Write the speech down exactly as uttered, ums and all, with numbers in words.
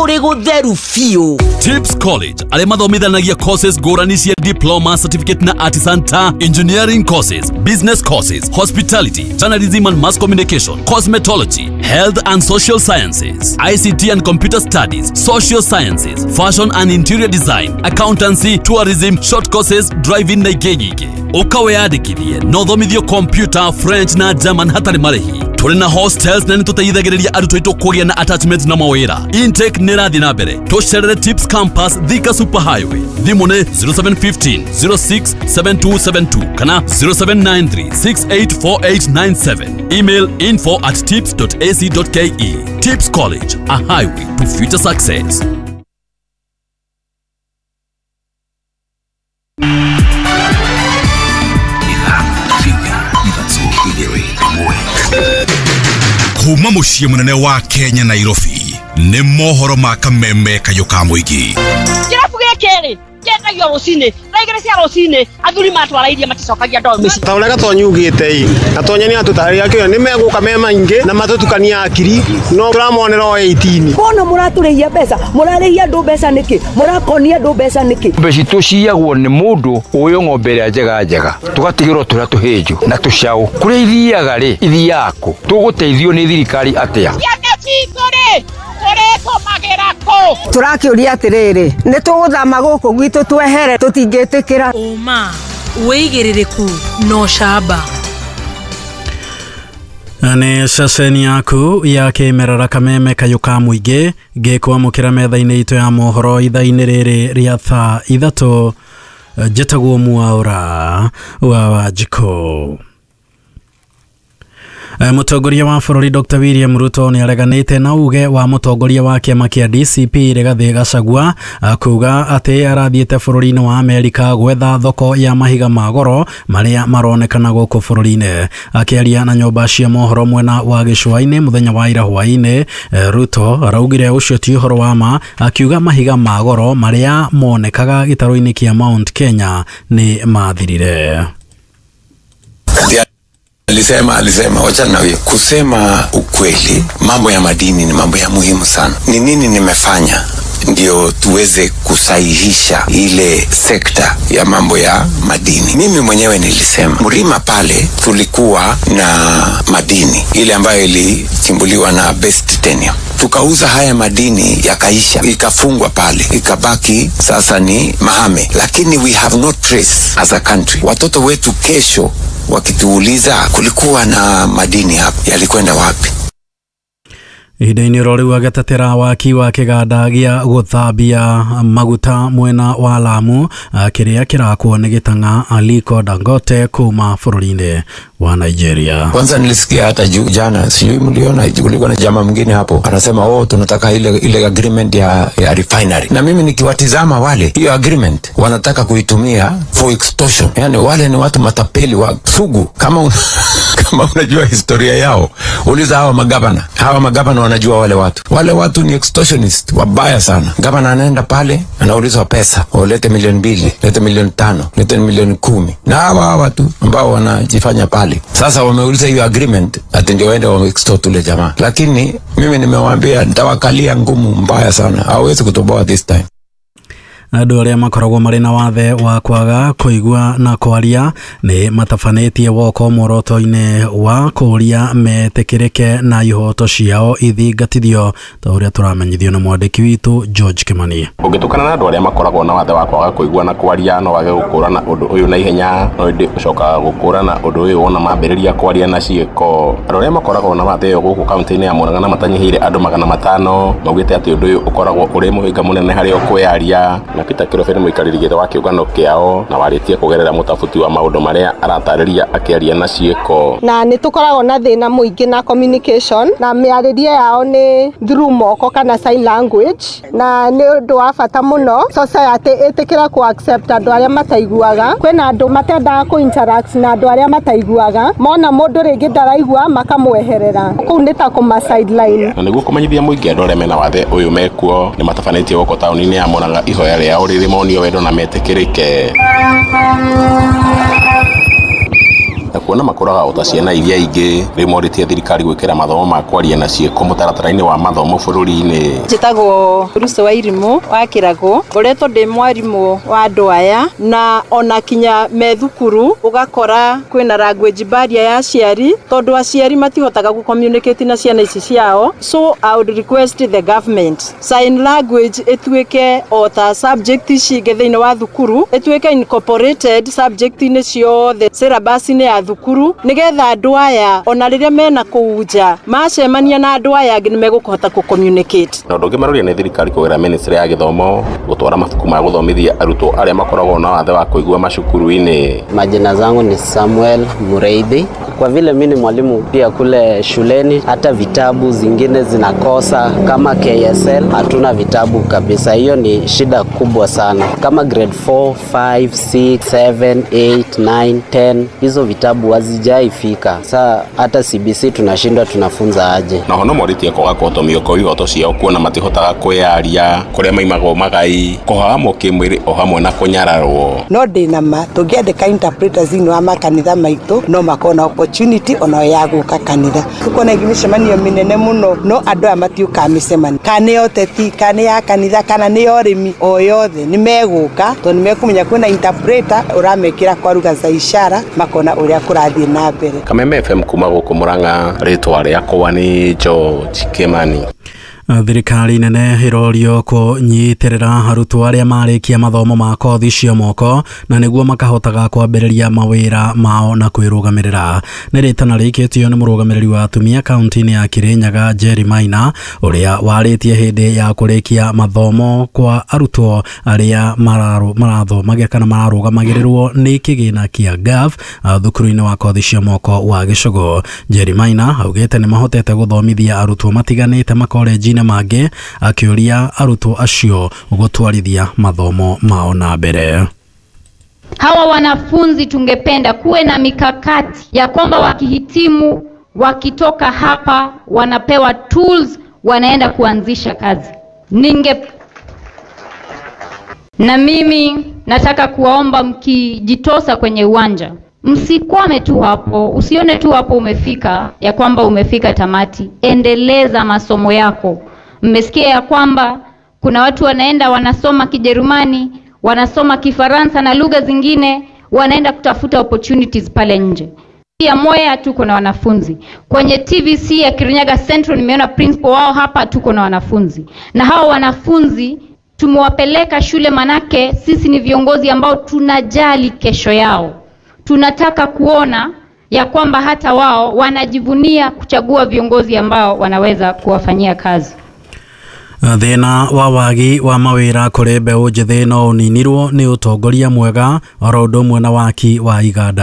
Kũrĩ gũtheru biũ. Tips College arĩa mathomithanagia courses ngũrani cia diploma, certificate na artisan ta engineering courses, business courses, hospitality, journalism and mass communication, cosmetology, health and social sciences, I C T and computer studies, social sciences, fashion and interior design, accountancy, tourism, short courses, driving na ingĩ nyingĩ. Ũka wĩyandĩkithie na ũthomithio computer, French na German hatarĩ marĩhi. Tũrĩ na hostels na nĩtũteithagĩrĩria arutwo aitũ kũgĩa na attachment na mawĩra. Intake nĩ ĩrathiĩ na mbere. Tũcerere Tips Campus, Thika Super Highway. Thimũ nĩ zero seven one five zero six seven two seven two kana zero seven nine three six eight four eight nine seven. Email info at tips dot a c dot k e. Tips College, a highway to future success. Kuma muciĩ mũnene wa Kenya Nairobi nĩ mohoro ma kameme kayũ ka mũingĩ. Kĩrabu gĩkĩ rĩ kĩendagio rũcinĩ thaa igĩrĩ cia rũcinĩ athuri matwara iria maticokagia ndoo mĩciĩ. Ta ũrĩa Gatonyi ugĩte ĩ, Gatonyi nĩ atũtarĩria kĩo nĩ megũka me maingĩ na matũtukania akiri no tũramonera o eighteen. Mbona mũratũrĩhia mbeca, mũrarĩhia andũ mbeca nĩkĩ, mũrakonia andũ mbeca nĩkĩ? Mbeca citũ ciyagwo nĩ mũndũ ũyũ ng'ombe ĩrĩa njega njega tũgatigĩrwo tũrĩa tũhĩnju na tũcaũ. Kũrĩa ithiaga rĩ ithiaga kũ? Tũgũteithio nĩ thirikari atĩa? Ciana citũ rĩ tũrĩtũmagĩra kũ? Tũrakĩũria atĩrĩrĩ, nĩ tũgũthama gũkũ gwitũ twehere tũtingĩtĩkĩra. Ũma wĩigĩrĩrĩku no camba. Nĩ ceceni yaku ya kĩmerera kameme kayũ ka mũingĩ ngĩkwamũkĩra metha-inĩ itũ ya mohoro ithaa-inĩ rĩrĩ rĩa thaa ithatũ. Njĩtagwo Mwaũra wa Wanjikũ. Mũtongoria wa bũrũri Doctor William Ruto nĩ areganĩte na uge wa mũtongoria wa kĩama kĩa D C P Rigathĩ Gachagua kuga atĩ arathiĩte bũrũri-inĩ wa Amerika gwetha thoko ya mahiga ma goro marĩa maronekana gũkũ bũrũri-inĩ. Akĩaria na nyũmba cia mohoro mwena wa gĩcũa-inĩ mũthenya wa ira hwaĩ-inĩ, Ruto araugire ũcio ti ũhoro wa ma, akiuga mahiga ma goro marĩa monekaga gĩtarũ-inĩ kĩa Mount Kenya nĩ mathirire. Alisema, alisema, wacha na huyo. Kusema ukweli, mambo ya madini ni mambo ya muhimu sana. Ni nini nimefanya ndio tuweze kusahihisha ile sekta ya mambo ya madini? Mimi mwenyewe nilisema Mlima pale tulikuwa na madini ile ambayo ilichimbuliwa na Best Titanium. Tukauza haya madini yakaisha, ikafungwa pale, ikabaki sasa ni mahame. Lakini we have no trace as a country. Watoto wetu kesho wakituuliza kulikuwa na madini hapa, yalikwenda wapi? Ihinda-inĩ oro rĩu agĩtetera waki wa kĩganda gĩa gũthambia maguta mwena wa Lamu kĩrĩa kĩrakwo nĩ gĩtang'a Aliko Dangote kuma bũrũri-inĩ wa Nigeria. Kwanza nilisikia hata juu jana, sijui mliona, kulikuwa na jamaa mwingine hapo anasema oh, tunataka ile ile agreement ya, ya refinery. Na mimi nikiwatizama wale, hiyo agreement wanataka kuitumia for extortion. Yani wale ni watu matapeli wa sugu. Kama un, kama unajua historia yao, uliza hawa magavana. Hawa magavana wanajua wale watu. Wale watu ni extortionist wabaya sana. Gavana anaenda pale anaulizwa pesa, lete milioni mbili, lete milioni tano, lete milioni kumi. Na hawa hawa tu ambao wanajifanya pale. Sasa wameuliza hiyo agreement ati ndio waende wa extort ule jamaa. Lakini mimi nimewaambia nitawakalia ngumu mbaya sana. Hawezi kutoboa this time. Andũ arĩa makoragwo marĩ na wathe wa kwaga kũigua na kwaria nĩ matabanĩtie woko muoroto-inĩ wa kũũria metĩkĩrĩke na ihoto ciao ithingatithio ta ũrĩa tũramenyithio nĩ mwandĩki witũ George Kimani. Ũngĩtukana na andũ arĩa makoragwo na wathe wa kwaga kũigua na kwaria no wage gũkũrana ũndũ ũyũ na ihenya, no ĩndĩ ũcokaga gũkũrana ũndũ ũyũ wona mambĩrĩria kwaria na ciĩko. Andũ arĩa makoragwo na wathe ũyũ gũkũ kaunti-inĩ ya Murang'a na matanyihĩire andũ magana matano maugĩte atĩ ũndũ ũyũ ũkoragwo ũrĩ mũhĩnga mũnene harĩ o kwĩyaria. Na Peter Kirobe nĩ mũikarĩri gĩtĩ wa kĩũngano kĩao na warĩtie kũgerera mũtabuti wa maũndũ marĩa aratarĩria akĩaria na ciĩko. Na nĩ tũkoragwo na thĩna mũingĩ na communication na mĩarĩrie yao nĩ through moko kana sign language, na nĩ ũndũ wa bata mũno society ĩtĩkĩra ku accept andũ arĩa mataiguaga. Kwĩna andũ matendaga kũ interact na andũ arĩa mataiguaga, mona mũndũ rĩngĩ ndaraigua makamweherera, kũu nĩ ta kũma sideline. Na nĩguo kũmenyithia mũingĩ andũ arĩa mena wathe ũyũ mekuo nĩ matabanĩtie gũkũ taũni-inĩ ya Murang'a ihoya rĩao rĩrĩ monio wendo na metĩkĩrĩke. Na kuona makũraga o ta ciana iria ingĩ, rĩu morĩtie thirikari gwĩkĩra mathomo ma kwaria na ciĩko mũtaratara-inĩ wa mathomo bũrũri-inĩ. Njĩtagwo Ruth wa Irimũ wa Kĩragũ, ngoretwo ndĩ mwarimũ wa andũ aya, na ona kinya me thukuru ũgakora kwĩna language barrier ya aciari, tondũ aciari matihotaga gũ communicate na ciana ici ciao. So I would request the government sign language ĩtuĩke o ta subject ici ingĩ thĩinĩ wa thukuru, ĩtuĩke incorporated subject-inĩ ciothe syllabus-inĩ ya thukuru, nĩgetha andũ aya ona rĩrĩa mena kũu nja macemania na andũ aya angĩ nĩmegũkũhota kũ communicate. Na ũndũ ũngĩ maroria nĩ thirikari kũgerera ministry ya gĩthomo gũtwara mabuku ma gũthomithia arutwo arĩa makoragwo na wathe wa kũigua macukuru-inĩ. Majina zangu ni Samuel Mureithi. Kwa vile mimi ni mwalimu pia kule shuleni, hata vitabu zingine zinakosa kama K S L hatuna vitabu kabisa. Hiyo ni shida kubwa sana. Kama grade four, five, six, seven, eight, nine, ten, hizo vitabu hazijaifika. Sasa hata C B C tunashindwa tunafunza aje. Na hono moritie kwaga kuhotomio kwa ihoto ciao kuona matihotaga kwiyaria kuria maimagwo magai kuhahamwo kimwiri o hamwe na kunyararwo. No ndina ma tungiandika interpreters thĩinĩ wa makanitha maitũ no makorwo na opportunity ona ya gũka kanitha. Tukona mĩcemanio mĩnene mũno no andũ aya matiũkaga mĩcemanio, kana nĩ ya ũteti, kana nĩ ya kanitha, kana nĩ ya ũrĩmi, o yothe nĩ megũka tondũ nĩ mekũmenya kwĩna interpreter ũramekĩra kwa lugha za ishara makona ũrĩa kũrathiĩ na mbere. Kameme F M kuma gũkũ Murang'a, rĩtwa rĩakwa nĩ George Kimani. Thirikari nene irorio kũnyitĩrĩra arutwo arĩa marĩkia mathomo ma kothi cia moko na nĩguo makahotaga kwambĩrĩria mawĩra mao na kwĩrũgamĩrĩra. Nĩ rĩtana rĩikĩtio nĩ mũrũgamĩrĩri wa atumia kaunti-inĩ ya Kirinyaga Jerry Maina, ũrĩa warĩtie hĩndĩ ya kũrĩkia mathomo kwa arutwo arĩa marathomagĩra kana mararũgamagĩrĩrwo nĩ kĩgĩna kĩa G A F thukuru-inĩ wa kothi cia moko wa Gĩcũgũ. Jerry Maina augĩte nĩ mahotete gũthomithia arutwo matiganĩte makorenji mangĩ, akĩũria arutwo acio gũtwarithia mathomo mao na mbere. Hawa wanafunzi tungependa kuwe na mikakati ya kwamba wakihitimu, wakitoka hapa wanapewa tools, wanaenda kuanzisha kazi. Ninge na mimi nataka kuwaomba mkijitosa kwenye uwanja, msikwame tu hapo, usione tu hapo umefika ya kwamba umefika tamati. Endeleza masomo yako. Mmesikia ya kwamba kuna watu wanaenda wanasoma Kijerumani, wanasoma Kifaransa na lugha zingine, wanaenda kutafuta opportunities pale nje. Pia Mwea tuko na wanafunzi. Kwenye T V C ya Kirinyaga Central nimeona principal wao hapa, tuko na wanafunzi. Na hao wanafunzi tumewapeleka shule manake sisi ni viongozi ambao tunajali kesho yao. Tunataka kuona ya kwamba hata wao wanajivunia kuchagua viongozi ambao wanaweza kuwafanyia kazi. Thĩna wa wagi wa mawĩra kũrĩ mbeũ njĩthĩ no ũninirwo nĩ ũtongoria mwega oro ũndũ ũmwe na waki wa iganda.